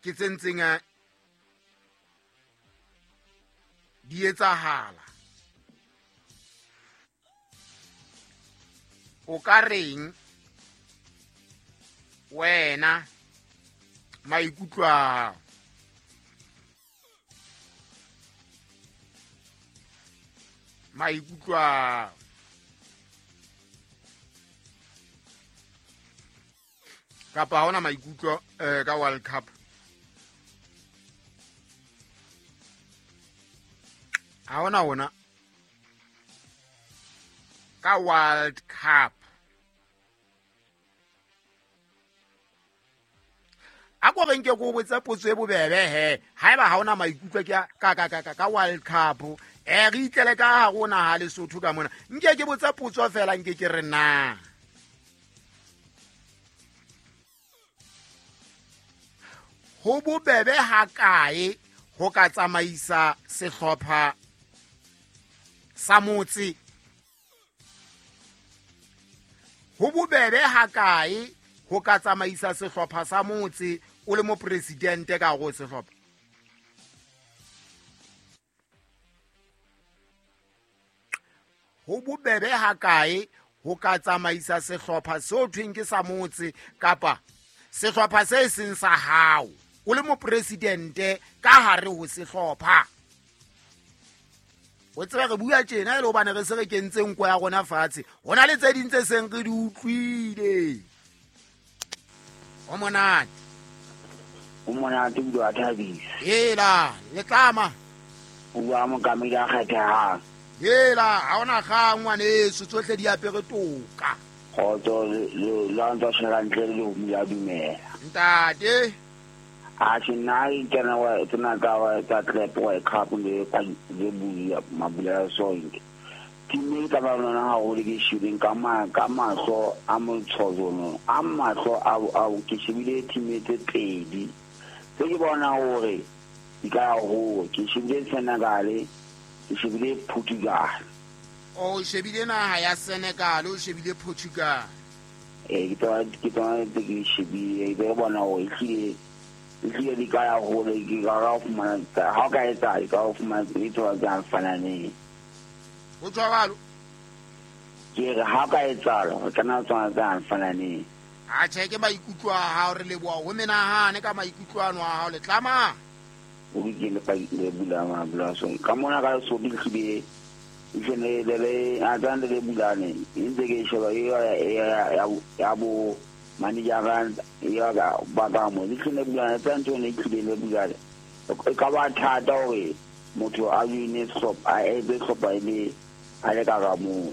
Ke tse ntseng di etsahala. O ka reng wena maikutlo a hao? Maikutlo a hao. Kapa ha hona maikutlo ka World Cup? Ha hona ona ka World Cup. A ko re nke ko botse potso e bobebe he, haeba ha hona maikutlo ke ka World Cup, re itlele ka hare ho naha Lesotho ka mona. Nke ke botse potso fela, nke ke re na ho bobebe ha kae ho ka tsamaisa sehlopha sa motse? Ho bobebe ha kae ho ka tsamaisa sehlopha sa motse o le mopresidente ka hare ho sehlopha? Ho bobebe ha kae ho ka tsamaisa sehlopha seo thweng ke sa motse kapa sehlopha se seng sa hao o le mopresidente ka hare ho sehlopha? O tsebe re bua tjena e le hobane re se re kentse nko ya rona fatshe, ho na le tse ding tse seng re di utlwile. O monate. O monate o a thabisa. Hela, le tlama. O bua mokamedi a kgethehang. Hela, ha ona kgang ngwaneso, tsohle di apere toka. Kgotso le la ntsa tshwara ntle le ho mula dumela. Ntate. A se nna e kena wa tsena tsa wa tsa Club World Cup le le buya mabulela sonke. Team e ka ba lona haholo ke shebeng ka ma ka mahlo a motshozono, a mahlo a ke shebile team tse pedi. Se ke bona hore di ka ya ho, ke shebile Senegal, ke shebile Portugal. O shebile naha ya Senegal, o shebile Portugal. Ke tsona tse ke shebile, ke bona hore ehlile di ka ya hole, ke ka ka fumana ha o ka etsa, ke ka fumana e tswa tsa fananeng. Ho jwalo. Ke re ha ka etsahala, re kana tsona tsa fananeng. A tjhe, ke maikutlo a hao, re leboha ho menahane ka maikutlo ano a hao, le tlama. O ke le pa le bula ma bula so. Ka mona ka so di hlile. Itsene le le a tsang le bulane. Ntse ke sheba e ya ya bo manager ya ka ba ka mo. Itsene bulane tsa ntho ne hlile le bulane. E ka ba thata hore motho a joine sehlopha, a etse sehlopha e le a le ka ka moo.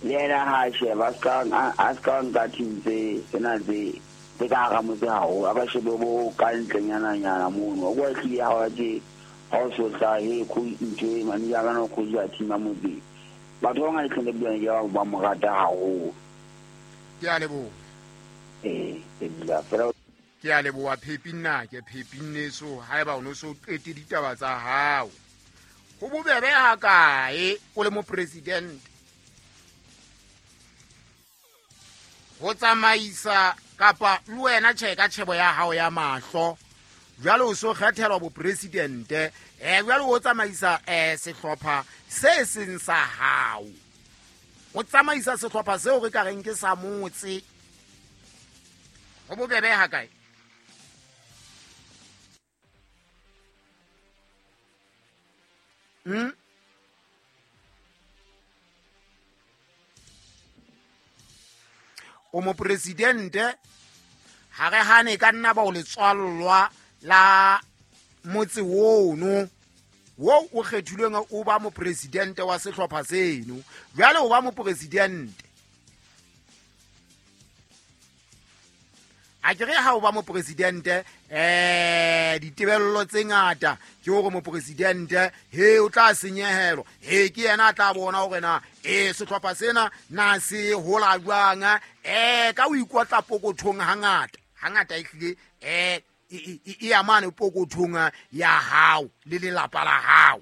Le yena ha a sheba, a ska nka team tse tsena tse ka hara motse haholo, a ka shebe bo ka ntlenyana-nyana mono. O kwa hlile ha wa tje, ha o so hlahe, ntho e manager ka no coach ya team ya motse. Batho ba bangata hlile bulane ke ba mo rata haholo. Ke a leboha. Ke dula fela. Ke a leboha Phepi nnake, Phepi nneso, haeba o no so qete ditaba tsa hao. Ho bobebe ha kae o le mopresidente ho tsamaisa kapa le wena tjhe ka tjhebo ya hao ya mahlo, jwale o so kgethelwa bopresidente, jwale o tsamaisa sehlopha se seng sa hao, o tsamaisa sehlopha seo re ka reng ke sa motse. Ho bobebe ha kae? O mopresidente, ha re hane ka nna ba o letswallwa la motse ono wo o kgethilweng o ba mopresidente wa sehlopha seno. Jwale o ba mopresidente. A ke re ha o ba mopresidente, ditebello tse ngata ke hore mopresidente he o tla senyehelwa, he ke yena a tla bona hore na sehlopha sena na se hola jwang, ka o ikotla pokothong hangata hangata ehlile, e ya mane pokothong ya hao le lelapa la hao.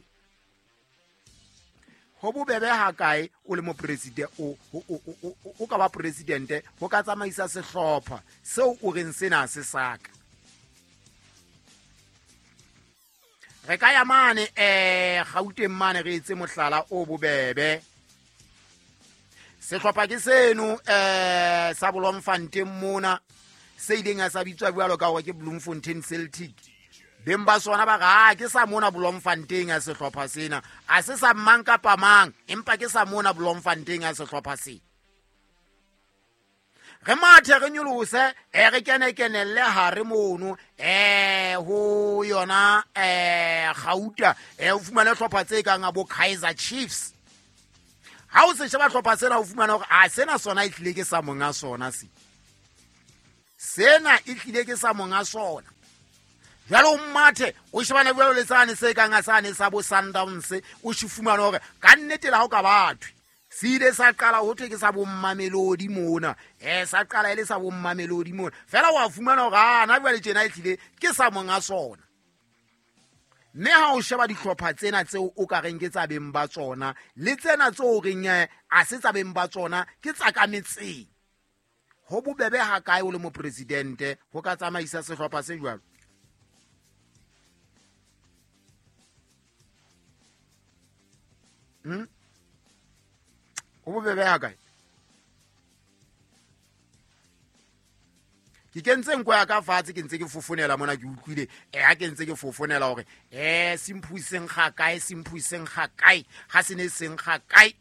Ho bobebe ha kae o le mopresidente, o ka ba presidente ho ka tsamaisa sehlopha seo o reng sena se saka? Re ka ya mane Gauteng mane re etse mohlala o bobebe. Sehlopha ke seno sa Bloemfontein mona se ileng sa bitswa jwalo ka hore ke Bloemfontein Celtic. Beng ba sona ba re ke sa mona Bloemfontein a sehlopha sena, a se sa mang kapa mang, empa ke sa mona Bloemfontein a sehlopha sena. Re mathe re nyolose re kene kenelle hare mono ho yona Gauta o fumane hlopha tse kang a bo Kaizer Chiefs. Ha o se sheba hlopha sena o fumana hore a sena sona e tlile ke sa monga sona se. Sena e tlile ke sa monga sona. Jwale o mathe o shebana jwalo le sane se kang a sane sa bo Sundowns, o se fumana hore ka nnete la ho ka bathwe. Se ile sa qala ho thwe ke sa bo Mamelodi mona, sa qala e le sa bo Mamelodi mona. Fela wa fumana hore ana jwale tjena e tlile ke sa monga sona. Mme ha o sheba dihlopha tsena tseo o ka reng ke tsa beng ba tsona le tsena tseo o reng a se tsa beng ba tsona ke tsa ka metseng, ho bobebe ha kae o le mopresidente ho ka tsamaisa sehlopha se jwalo? Ho bobebe ha kae? Ke kentse nko ya ka fatshe, ke ntse ke fofonela mona, ke utlwile ha ke ntse ke fofonela hore semphu seng ga kae, semphu seng ga kae, ha se ne seng ga kae.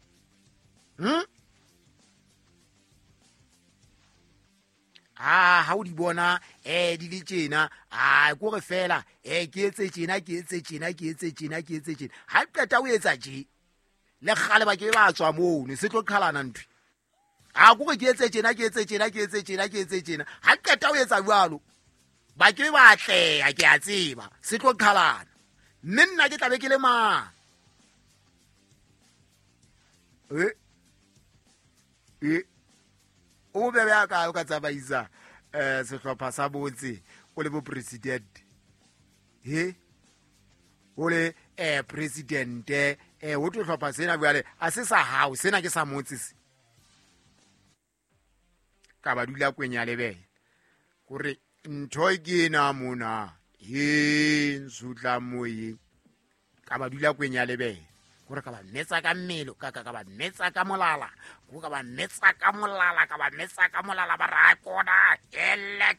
Ha o di bona di le tjena, a ko re fela ke etse tjena, ke etse tjena, ke etse tjena, ke etse tjena. Ha qeta o etsa tje, le kgale ba ke ba tswa mono, se tlo qhalana ntho. A ko re ke etse tjena, ke etse tjena, ke etse tjena, ke etse tjena. Ha qeta o etsa jwalo, ba ke ba atleha, ke a tseba, se tlo qhalana. Mme nna ke tla be ke le mang? O bebe a kae o ka tsamaisa sehlopha sa botse o le bo president? He o le presidente ho tlo hlopha sena jwale a se sa hao, sena ke sa motse se. Ka ba dula kwenya lebele hore ntho ke ena mona, he nsutla moyeng. Ka ba dula kwenya lebele hore ka ba metsa ka mmele, ka ba metsa ka molala, ka ba metsa ka molala, ka ba metsa ka molala, ba ra kona ele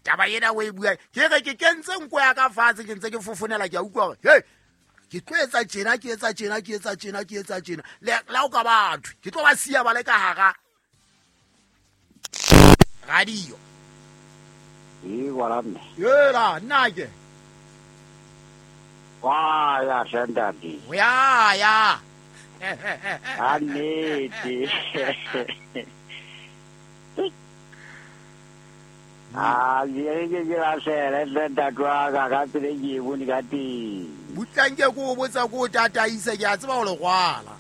taba ena o e bua. Ke re ke kentse nko ya ka fatshe, ke ntse ke fofonela, ke a utlwa hore hey ke tlo etsa tjena, ke etsa tjena, ke etsa tjena, ke etsa tjena. Le la o ka batho, ke tlo ba siya ba le ka hara radio. E wala mme. Yela nna ke. Wa ya sendadi. Ya ya. A nnete. A ye ke ke la sele ntate wa ka ka tsela e ke bone ka teng. Butlang ke ko botsa ko tataisa, ke a tseba ho le kwala.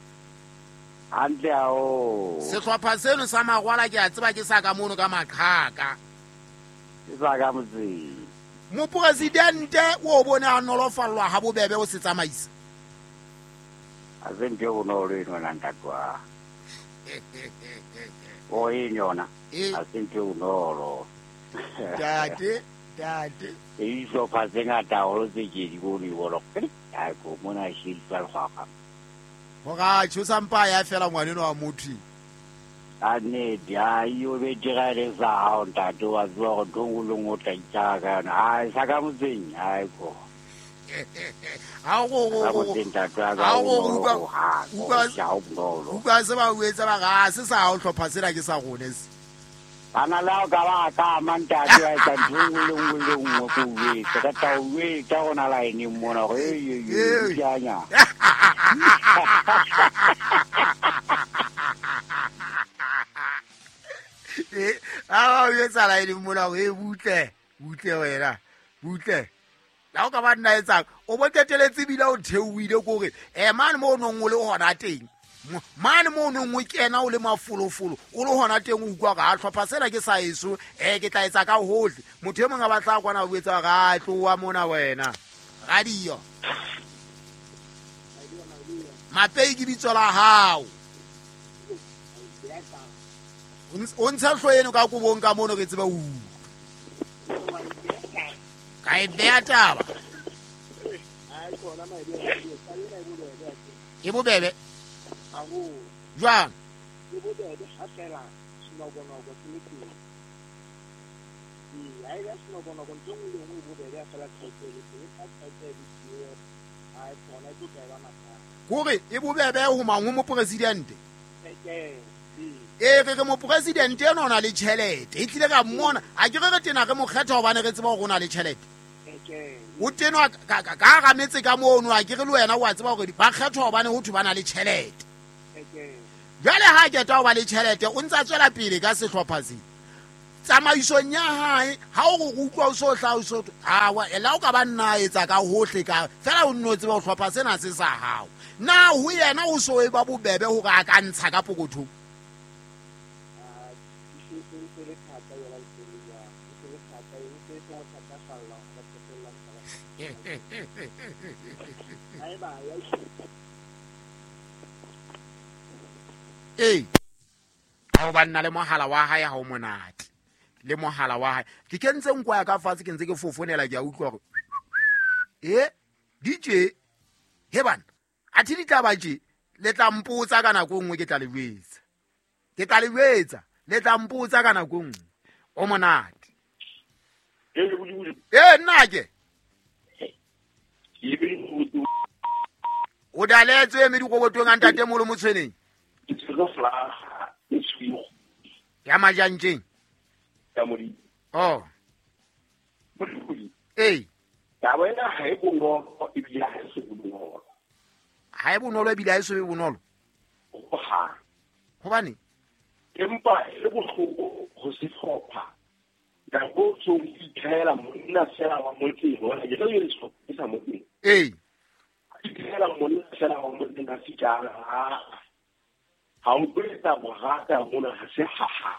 Hantle haholo. Sehlopha seno sa Magwala ke a tseba ke sa ka mono ka maqhaka. Ke sa ka motseng. Mopresidente o bone a nolofallwa ha bobebe o se tsamaisa. A se ntho e bonolo eno na ntate wa. O eng yona? A se ntho e bonolo. Tate, tate. E dihlopha tse ngata haholo tse ke di bone bolo. Ai ko mona she di tswa lekgwakgwa. Hore a tjho sampa ya fela ngwaneno wa motho. A nnete, a yo be dira le sa hao ntate wa tseba hore ntho nngwe le nngwe o tla itjara ka yona. Ai sa ka motseng, ai ko. Ha go Sa motseng ntate wa ka ha o go bonolo utlwa ho hang, utlwa o ja o bonolo. Utlwa se ba o etsa ba re, a se sa hao hlopha sena ke sa rona se. Bana le hao ka ba ka ama ntate wa etsa ntho nngwe le nngwe le nngwe ko o jwetse. Ka tla o jwetsa hona line-eng mona hore, ei, ei, ei, Ei. ke a nya. A ba o etsa line-eng mona hore, ei, butle, butle wena, butle. La o ka ba nna etsang, o bo qeteletse ebile o theohile ko hore, mane moo o nong o le hona teng, mane moo o nong o kena o le mafolofolo, o le hona teng o utlwa hore, ha hlopha sena ke sa eso, ke tla etsa ka hohle. Motho e mong a batla kwana o etsa hore, a tloha mona wena. Radio. Mapei ke bitso la hao. O ntsha hlooho eno ka kobong ka mono re tsebe ho utlwa. Ka e beha taba. E bobebe jwang? E bobebe ha fela senokonoko se le teng. Ee, ha e ba senokonoko ntho e nngwe le nngwe e bobebe ha fela tjhelete e le teng. Ha tjhelete e le siyo, ha e tsona e tlo tla e ba mathata. Kore e bobebe ho mang ho mopresidente? Ee, re re mopresidente ena o na le tjhelete. E tlile ka mmona, a ke re re tena re mo kgetha hobane re tseba hore o na le tjhelete. O tenwa ka hara metse ka mono, a ke re le wena o a tseba hore ba kgethwa hobane ho thwe ba na le tjhelete. Jwale ha keta ho ba le tjhelete, o ntse a tswela pele ka sehlopha se. Tsamaisong ya hae, ha o re utlwa o so hlaha o so awa, la o ka ba nna a etsa ka hohle ka fela o nno tseba ho hlopha sena se sa hao. Na ho yena o so e ba bobebe hore a ka ntsha ka pokothong? Ee, ha o ba nna le mohala wa hae ha o monate. Le mohala wa hae. Ke kentse nko ya ka fatshe ke ntse ke fofonela ke a utlwa hore e DJ he bana athe di tla ba tje le tla mpotsa ka nako nngwe ke tla le jwetsa. Ke tla le jwetsa le tla mpotsa ka nako nngwe. O monate. Ee nna ke o daletswe mme dikobotong a ntate molo motshweneng. Ya majantjeng. Oh. Ee. Taba ena ha e bonolo ebile ha e so bonolo. Ha e bonolo ebile ha e so be bonolo. Hohang. Hobane? Empa e le bohloko ho sehlopha. Nako tso ithela monna fela wa motseng ona ke tla le sehlopha sa motseng. Ee. Ithela monna fela wa motseng ka sitjana. Ha o tlo borata mona ha se ha ha.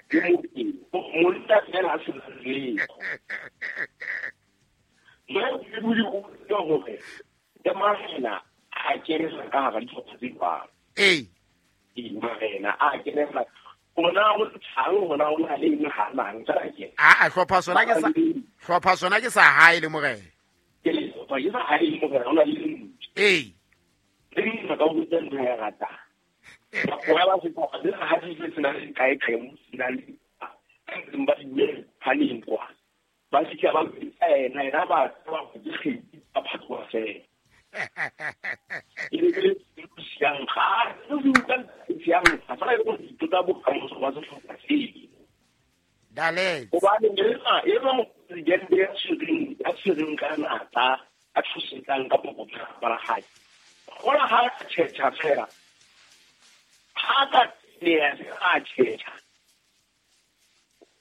Ke motseng monna fela a se letho. Jwale ke bule o utlwa hore ke marena a kenela ka hara dihlopha tse jwalo. Ee. Marena a kenela ona o tshang hona o na le eng ha mang tsela ke. A hlopha sona ke sa hlopha sona ke sa hae le morena. Ke le hlopha ke sa hae le morena ona le ntho. Ee. Le nna ka botsa ntho ya rata. Ba ba se ka le ha se se na le kae kae mo sena le ba di haneng kwa. Ba se ka ba ena ena ba ba ke kgedi ba phatwa fela. E le le siang ga se utlwa siang ga fela go itota bokamoso ba sehlopha se. Daletse. Hobane e ba mopresidente ya tshwereng ka natla a tshosetsang ka pokotho ba hae. Hola ha tjhetjha fela. Ha ka nea a tjhetjha.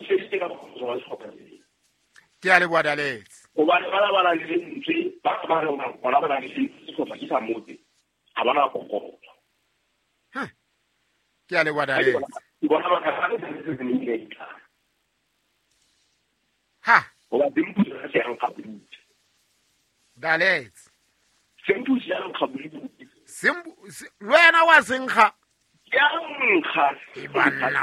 Se se ka bokamoso ba sehlopha se. Ke a leboha Daletse. Hobane ba ba le lentswe ba ba re bona ba le sehlopha ke sa motse ha bana pokotho. Ha. Ke a leboha Daletse. Bona ba ka le se se ne. Ha. Hoba dimpuso se yang ka buti. Daletse. Sempuso ya nkga buti. Sembu wena wa senkga. Ya nkga. E banna.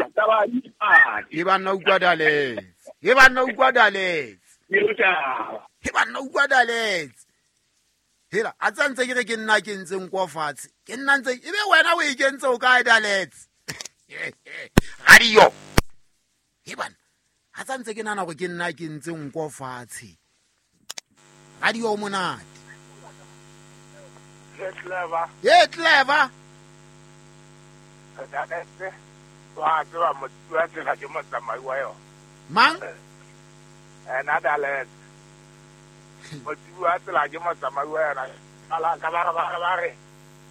E banna utlwa Daletse. E banna utlwa Daletse. E banna utlwa Daletse. Hela a tsantse ke re ke nna ke ntse nko fatshe. Ke nna ntse ebe wena o e kentse o kae Daletse. Radio. E banna a tsantse ke nana gore ke nna ke ntse nko fatshe. Radio monate. Clever. Ye clever. Daletse. Wa tseba motho wa tsela ke motsamai wa yona. Mang? Ena Daletse. Motho wa tsela ke motsamai wa yona. Ala ka ba ba re.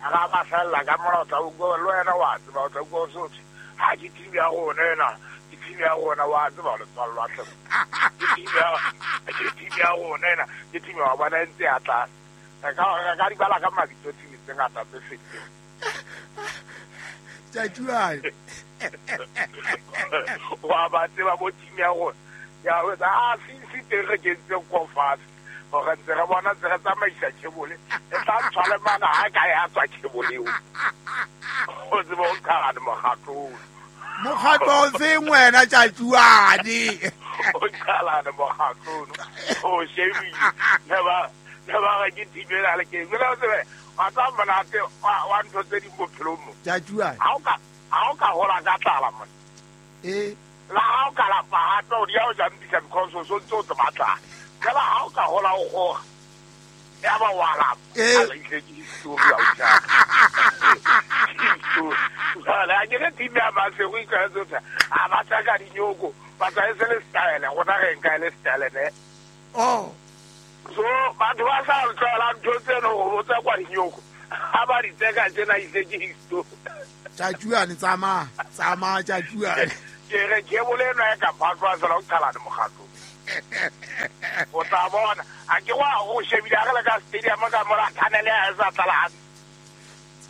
Aga ba fella ka mora tla utlwa le wena wa tseba o tla utlwa o sotse. Ha ke team ya rona ena. Ke team ya rona wa tseba le tswallwa hle. Ke team ya rona ena. Ke team ya bona ntse ya tla. Ka di bala ka mabitso team tse ngata tse fetileng. Tjatjuane. Wa ba tseba bo team ya rona. Ya o tsa se teng re kentse ko fatshe. Hore ntse re bona ntse re tsamaisa khebole. E tla tshwale mana ha ka ya tswa khebole eo. O tseba o qala mokgatlo. Mokgatlo o feng wena Tjatjuane? O qala mokgatlo. O shebile. Ba re ke team ena le ke jwale o tsebe wa tsa monate wa ntho tse ding bophelong mo. Tjatjuane. Ha o ka hola ka tlala mona. La ha o ka lapa hape o dia o jampisa because o so ntse o tseba tlala. Fela ha o ka hola o kgora. Ya ba wa lapa. A le ke history ya o tjha. Jwale a ke re team ya Masego e tlwaetse ho tjha. A ba tsaka dinyoko, ba tsa e se le style, rona re nka e le style ne. Oh. So batho ba sa tlwaela ntho tseno ho tsa kwa dinyoko. Ha ba di tseka tjena ise ke history. Tjatjuane tsamaya, tsamaya tjatjuane. Ke re ke boleno e ka phatlwa fela o qhalane mokgatlo. O tla bona a ke wa o shebile a re le ka stadium ka mora thanele ha e sa tlala hantle.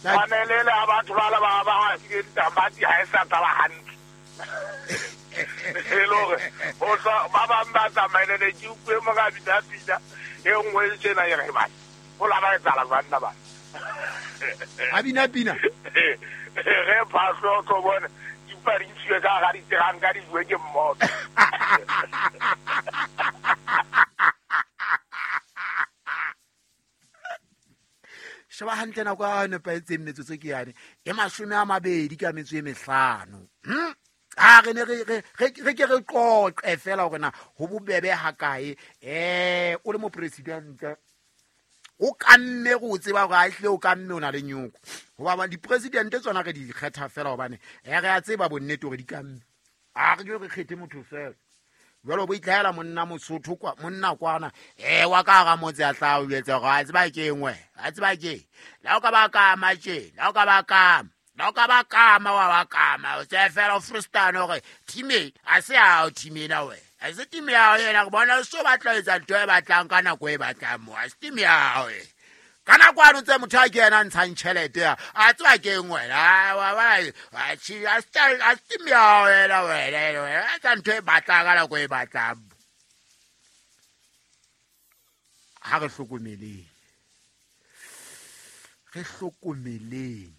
Thanele le ha batho ba le ba ba file ditamati ha e sa tlala hantle. E le hore o tla ba bang ba tsamaile ne ke utlwe mo ka bina pina e nngwe e tjena e re bana o la ba etsala jwang ba. A bina pina. Re phahlo o tlo bona di ntshiwe ka hara diteranka di bue ke mmoto. Sheba hantle nako ya nepahetseng metsotso ke yane e 25 ka metso e 5. A re ne re ke re qoqe fela hore na ho bobebe hakae o le mopresidente o kamme go tseba hore a ehle o kamme o na le nyoko. Hoba dipresidente tsona re di kgetha fela hobane re a tseba bonnete hore di kamme. A re ke re kgethe motho fela. Jwalo bo itlhaela monna Mosotho kwa monna kwana wa ka hara motse a tla o etsa hore a tseba ke engwe a tseba ke la o ka ba kama tje la o ka ba kama la o ka ba kama wa ba kama o tse fela o freestyle hore team a se a team ena we a se team ya yena go bona so batla etsa ntho e batlang ka nako e batlang mo a se team ya we ka nako ano tse motho a ke yena ntshang tjhelete ya a tseba ke engwe la wa wa a chi a style a team ya wena wena a tsa ntho e batlang ka nako e batlang. Ha re hlokomeleng, re hlokomeleng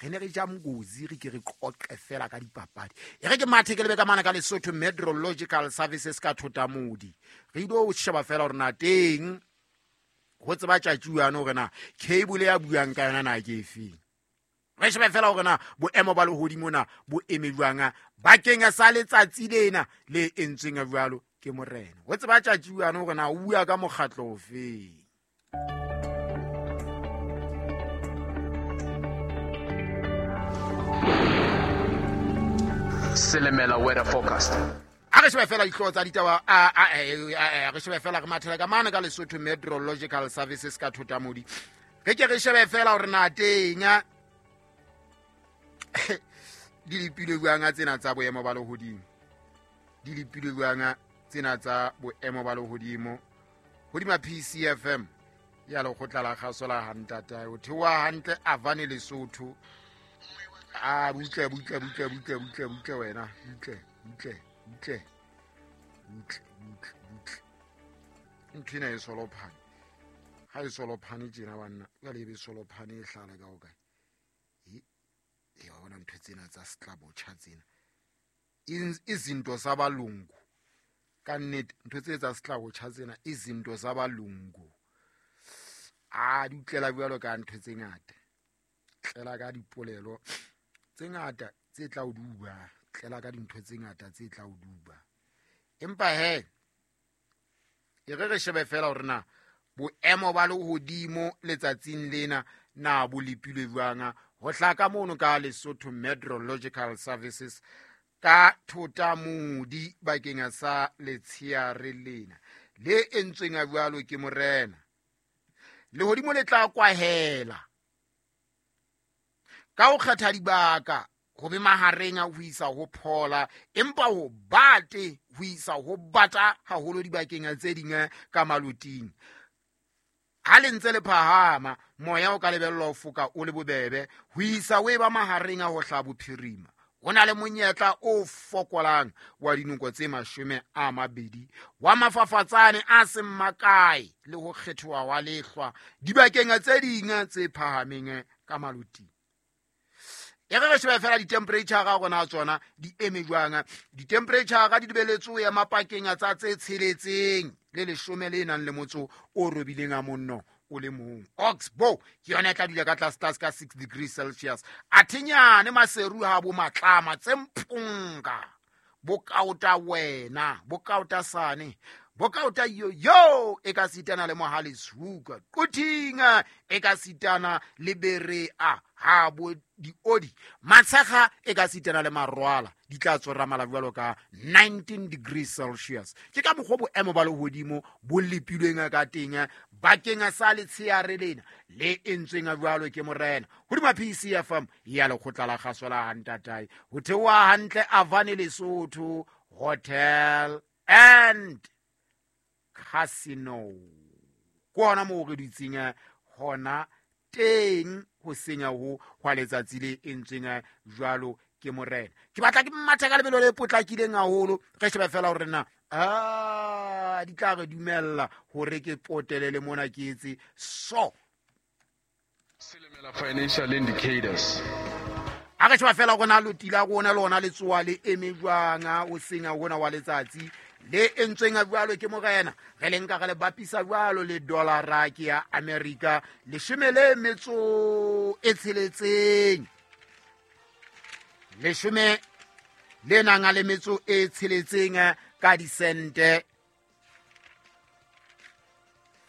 re ne re ja Mgozi re ke re qoqe fela ka dipapadi. E re ke mathe ke lebe ka mana ka Lesotho Meteorological Services ka Thotamodi. Re ile ho sheba fela hore na teng ho tseba tjatjuane hore na cable ya buang ka yona na ke efeng. Re shebe fela hore na boemo ba lehodimo na bo eme jwang bakeng sa letsatsi lena le entsweng jwalo ke morena. Ho tseba tjatjuane hore na o bua ka mokgatlo ofeng. Selemela weather forecast. A re shebe fela dihlooho tsa ditaba a re shebe fela re mathela ka mane ka Lesotho Meteorological Services ka Thotamodi. Re ke re shebe fela hore na teng di lepilwe jwang tsena tsa boemo ba lehodimo. Di lepilwe jwang tsena tsa boemo ba lehodimo hodima PCFM ya lekgotla la kgaso la Hantata. O theoha hantle Avane Lesotho. A butle butle butle butle butle butle wena butle butle butle butle butle butle ntho ena e solophane ha e solophane tjena banna jwale e be solophane e hlala ka hokae e wa bona ntho tsena tsa setlabotjha tsena izinto zabalungu ka nnete ntho tse tsa setlabotjha tsena izinto zabalungu a di utlela jwalo ka ntho tse ngata tlela ka dipolelo tse ngata tse tla o duba tlela ka dintho tse ngata tse tla o duba. Empa he e re re shebe fela hore na boemo ba lehodimo letsatsing lena na bo lepilwe jwang ho hlaka mono ka Lesotho Meteorological Services ka Thotamodi bakeng sa letsheare lena le entsweng jwalo ke morena. Lehodimo le tla kwahela ka ho kgetha dibaka ho be mahareng a ho isa ho phola empa ho bate ho isa ho bata haholo dibakeng tse ding ka maloting. Ha le ntse le phahama moya o ka lebellwa ho foka o le bobebe ho isa o e ba mahareng a ho hla bophirima. Ho na le monyetla o fokolang wa dinoko tse 20 wa mafafatsane a seng makae le ho kgethoha wa lehlwa dibakeng tse ding tse phahameng ka maloting. E re re shebe fela di-temperature ga rona tsona di eme jwang. Di-temperature di lebeletswe ho ema pakeng tsa tse 6 le 18 le nang le motso o robileng a monno o le mong. Oxbow ke yona e tla dula ka tlase tlase ka 6 degrees Celsius. Athinyane Maseru ha bo matlama tse mpunga bokaota wena bokaota sane bokaota yo yo e ka sitana le Mohale Suka Qutinga e ka sitana le Berea ha bo diodi Matshega e ka sitana le Marwala di tla tsora mala jwalo ka 19 degrees Celsius. Ke ka mokgwa boemo ba lehodimo bo lepilweng ka teng bakeng sa letsheare lena le entsweng jwalo ke morena. Hodima PCFM ya lekgotla la kgaso la Hantatai ho theoha hantle Avane Lesotho Hotel and Casino. Ke hona moo re dutseng hona teng ho senya ho hwa letsatsi le entsweng jwalo ke morena. Ke batla ke mmatha ka lebelo le potlakileng haholo re shebe fela hore na a di tla re dumella hore ke potelele mona ke etse so. Silimela financial indicators. A re sheba fela rona lotila rona lona le tsoa le eme jwang o senya hona wa letsatsi le entsweng jwalo ke morena. Re le nka re le bapisa jwalo le dollar ke ya America 16.6, 16.6 ka disente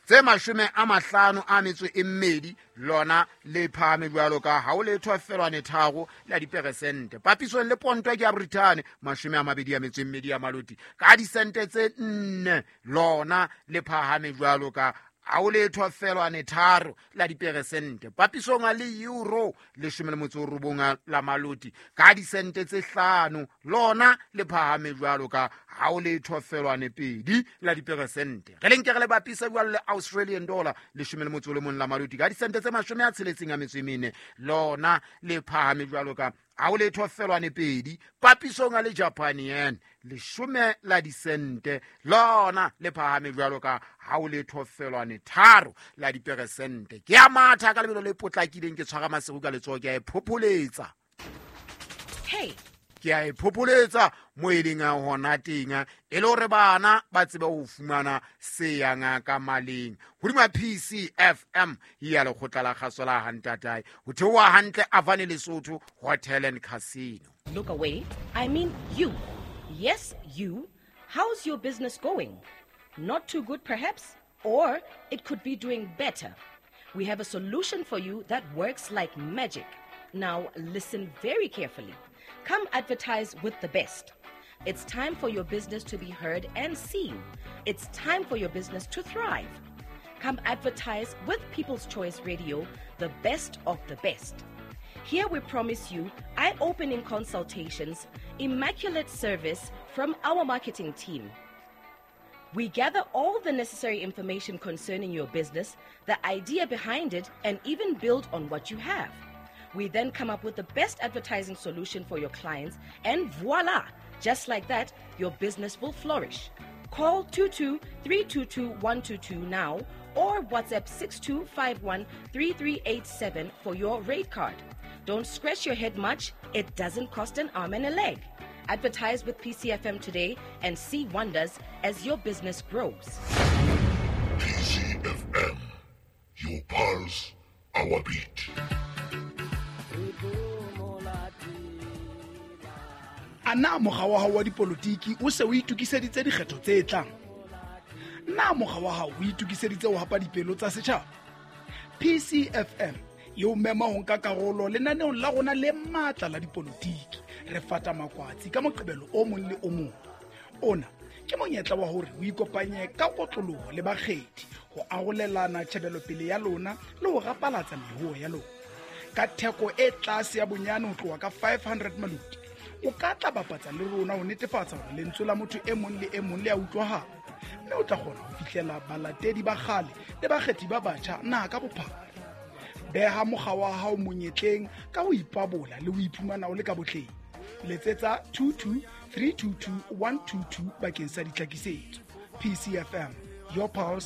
tse 52 lona le phahame jwalo ka ha o letho felwane 3 la diperesente. Papisong le ponto ke ya Britain 22 ya maloti ka disente tse 4 lona le phahame jwalo ka ha o letho felwane 3 la diperesente. Papisong le euro 19 la maloti ka disente tse 5 lona le phahame jwalo ka ha o letho felwane 2 la diperesente. Re le nke re le bapisa jwalo le Australian dollar 11 la maloti ka disente tse 64 lona le phahame jwalo ka ha o letho felwane 2. Papisong le Japan yen 10 la disente lona le phahame jwalo ka ha o letho felwane 3 la diperesente. Ke a matha ka lebelo le potlakileng ke tshwara Maseru ka letsoho ke a e phopholetsa. Hey, ke a e phopholetsa mo e leng hona teng e le hore bana ba tsebe ho fumana se yang ka maleng. Hodima PCFM ya lekgotla la kgaso la Hantatai ho theoha hantle Avane Lesotho Hotel and Casino. Look away, I mean you. Yes, you. How's your business going? Not too good perhaps, or it could be doing better. We have a solution for you that works like magic. Now listen very carefully. Come advertise with the best. It's time for your business to be heard and seen. It's time for your business to thrive. Come advertise with People's Choice Radio, the best of the best. Here we promise you eye-opening consultations, immaculate service from our marketing team. We gather all the necessary information concerning your business, the idea behind it, and even build on what you have. We then come up with the best advertising solution for your clients, and voila! Just like that, your business will flourish. Call 22-322-122 now or WhatsApp 6251-3387 for your rate card. Don't scratch your head much. It doesn't cost an arm and a leg. Advertise with PCFM today and see wonders as your business grows. PCFM, your pulse, our beat. A na mokga wa hao wa dipolotiki o se o itokiseditse dikgetho tse tlang? Na mokga wa hao o itokiseditse ho hapa dipelo tsa setjhaba? PCFM e o mema ho nka karolo lenaneong la rona le matla la dipolotiki. Re fata makwatsi ka Moqebelo o mong le o mong. Ona ke monyetla wa hore o ikopanye ka kotloloho le bakgethi ho arolelana tjhebelopele ya lona le ho rapalatsa mehoo ya lona. Ka theko e tlase ya bonyane ho tloha ka 500 maloti, o ka tla bapatsa le rona ho netefatsa hore lentswe la motho e mong le e mong le a utlwahala, mme o tla kgona ho fihlela balatedi ba kgale le bakgethi ba batjha naha ka bophara. Beha mokga wa hao monyetleng ka ho ipabola le ho iphumana o le ka botleng. Letsetsa 22 322 122 bakeng sa ditlhakisetso. PCFM, your pulse,